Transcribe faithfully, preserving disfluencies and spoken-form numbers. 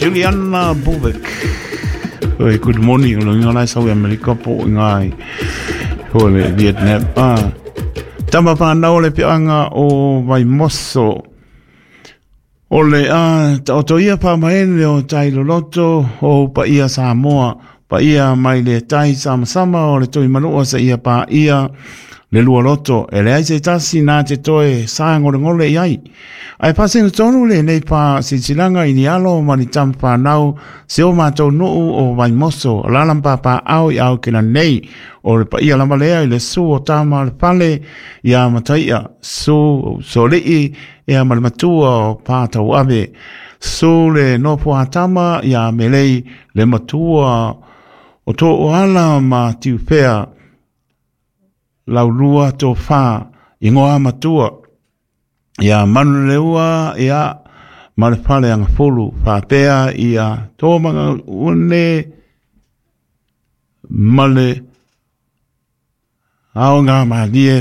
Juliana Bubek. Oi, good morning, o lo inga lai sau i Amerika po i ngai o le Vietnam. Ah. Tama whanau le peanga o Vaimoso. O le a taoto ia pāmaele o tai loloto o paia Samoa, paia mai le tai samasama o le toi manua sa ia pā ia le lua loto, e le ai se tasi nā te toe sa ngole ngole i ai. Ai pasina tonu le nei pā silsilanga i ni alo ma ni tama whanau se o mātou nuu o Vaimoso, lalam pāpā au i au kena nei, o le paia lama lea i le su o tama le pale ia mataia, su solii ia ma le matua o pātau ave, su le nopo a tama ia melei le matua o tō o ala ma tiupea, laulua tō whā, ingoa matua, ia manuleua ia ma le pale anga fulu, whāpea ia tō manga une ma le ao ngā malie